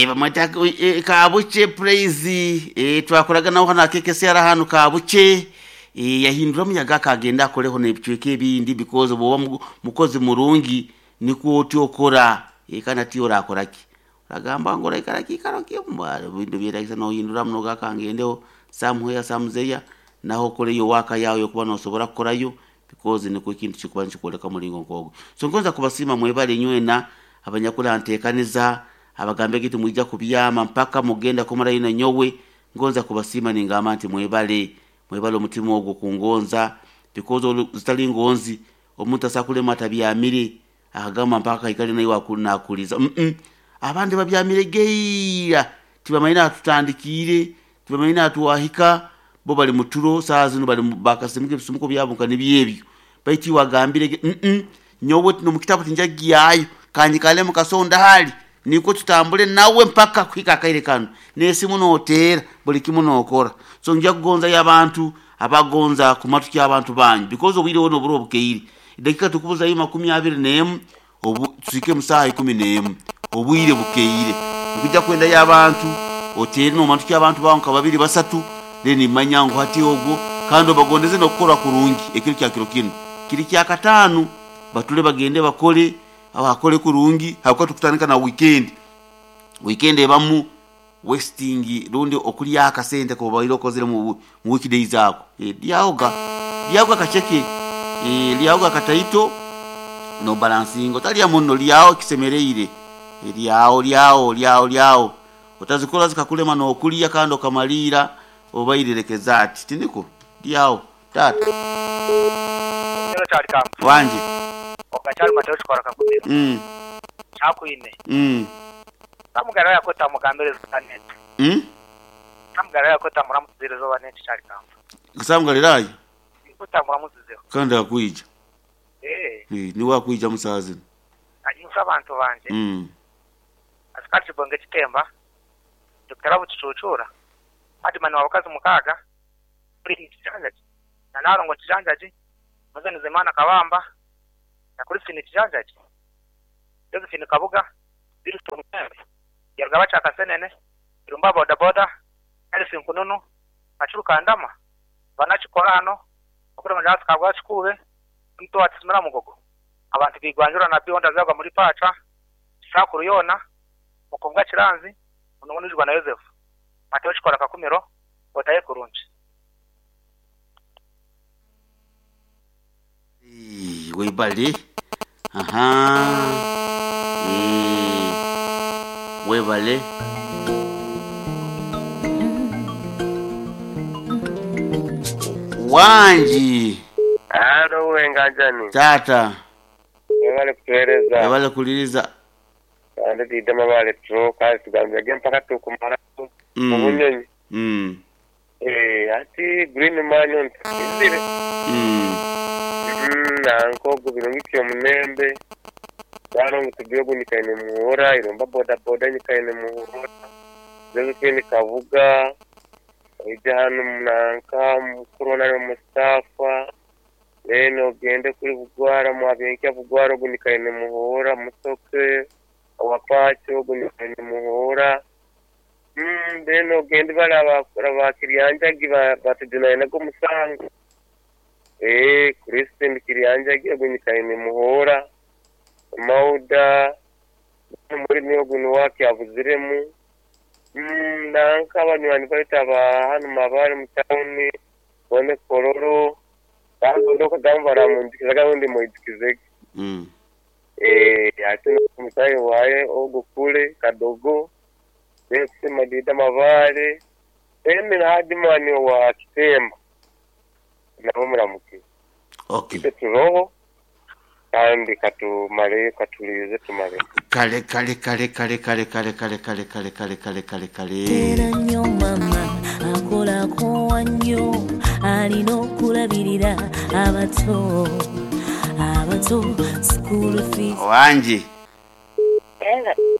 Bamweta Kabuche Praise. Twakoraga nawe hano akekese ara hano Kabuche. Yahindura muyaga akagenda akoreho n'ebicweka ebindi because bwoba mukozi murungi nikwo otyo okora. Kandi ati orakoraki oragamba ngu oraikara kiikaro kimwe bintu byeragisa nohindura muno gakangendeho somewhere somewhere naho okoreyo waka yawe yokuba nosobora kukorayo because nikwo ekintu kikuba nikikwoleka muringo nk'ogwo. So ngonza kubasiima mwebale nywena abanyakuranteekaniza abagambe gitu mwija kubyama mpaka mugenda kumarayo na nyowe. Ngonza kubasiima ningamba nti mwebale, mwebale omutima ogwo kungonza because zitali ngonzi omuntu asakulema atabyamire akagamba mpaka ikale naye nakuliza. Abandi babyamire geira tibamanyire atutandikiire, tibamanyire atuwahika, bo bali muturo saa zino bali bakasimuka ebisimuko byabo nka nibyebyo baitu wagambire nyowe nomukitabu tinjagyayo kanyikale mukasonda hali niko tutambule nawe mpaka kuhika akaire kano nesimu noteera buli kimu nokora. So nja kugonza y'abantu abagonza kumatu ky'abantu banyu because obwire buno oburo obukeire dakika tukubuzayo 21 obu tusike mu saha 11 obwire bukeire nkujja kwenda y'abantu oteere n'omantu ky'abantu bawo nka babiri basatu then manya ngu hati ogwo kandi obagondeze n'okukora kurungi ekiro kya kiro kino kiri kya kataano batule bagende bakole abakole kurungi hakuba tukutandika na weekend. Weekend ebamu wasting rundi okulya akasente kobaire okozere mu weekdays ako. Lyaoga lyaoga kacheke, lyaoga kataito no balancing otalya muno lyao kisemereire lyao lyao lyao lyao otazikora zikakulema nokulya kandi okamalira obairerekeza ati tiniko lyao tata wanje okachali mateo chikora kakumira. Chakuine. Samugara yakota mugambire zanet. Samugara yakota muramuzire zo banet chali kamba. Samugara Kota muramuzize. Kandi akuija. Ni wakuija musazi. Anyusa abantu banje. Asikati bonge kitemba. Dr. Buchuchura. Hadi mani wabakazi mukaga. Kuri kijanjaji. Na narongo kijanjaji. Mazani zemana kabamba. Na kuri sini kijanjaji. Josephine Kabuga, Wilson Membe, Yarugaba Chakasenene, Irumba boda boda, Elsie Nkununu, Achuru Kandama, Banachikorano, Okure Majasi Kabwa Chikube, Mto Atisimira Mugogo. Abantu bigwanjura na bionda zagwa muri pacha, Sakuru Yona, Mukonga Chiranzi, Munongonijwa na Joseph. Mateo Chikora Kakumiro, Otaye Kurungi. Webale. Aha. Webale. Wanji. Alo wenganjani. Tata. Webale kutueleza. Webale kuliriza. Ande didama bale tro kazi tugambye mpaka tukumara. Mubunyonyi. Ati green man on tizire. Nanko gubirungi omunembe. Bano ngutubyogo nikaine muhora iromba boda boda nikaine muhora. Josephine Kabuga ija hano nanka mukuru na Mustafa leno ogende kuri Bugwara mwabenki Bugwara ogunikaine muhora musoke awapacho ogunikaine muhora. Leno ogende bala bakiryanjagi batudinaye nago musango. Kristen kiryanjagi ogunikaine muhora. Mauda muri niyo wake avuziremu. Nanka abanywani baita ba hano mabare mu town bone kororo bagondoka gambara mundikiza gahundi muidikizege. Ati mutayi waye ogukule kadogo bese madida mabare emi na hadimani wa kitemba nabo muramuke. Okay. Turoho kandi katumare katulize tumare. Kale kale kale kale kale kale kale kale kale kale kale kale kale. Tera nnyo mama akolako nnyo alina okulabirira abato abato school fees. Wanji.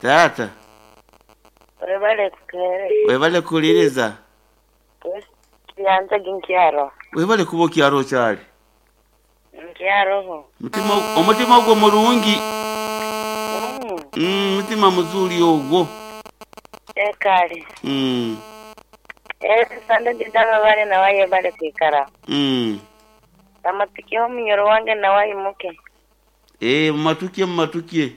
Tata. Webale kukere. Webale kuliriza. Yanza ginkyaro. Webale kuba kyaro kyali. Nkyaro. Mutima omutima ogwo mulungi. Mutima muzuri ogwo. Ekale. Sande ndidama bale nawaye bale kwikara. Amatukiho munyoro wange nawaye muke. Mumatukie mumatukie.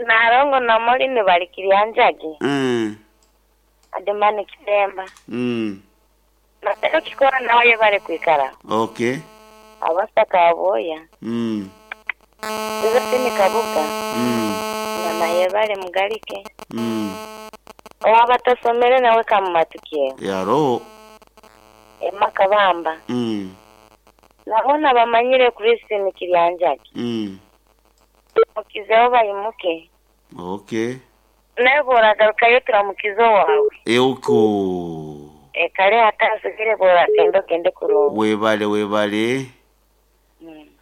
Narongo na moli ni bali kirianjagi. Ademane kitemba. Natero kikora nawaye bale kwikara. Okay. Abasaka aboya. Josephine Kabuga. Na maye bale mugalike. Owabatasomere nawe kamumatukie. Yaro. Emma Kabamba. Nabona bamanyire Christine Kiryanjagi. Mukizeho bayimuke. Okay. Nawe boragarukayo turamukizo wawe. Euko. Ekale atasigire boragenda ogende kurunga. Webale webale.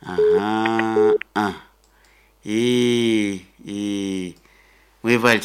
Aha. Ah. Webale.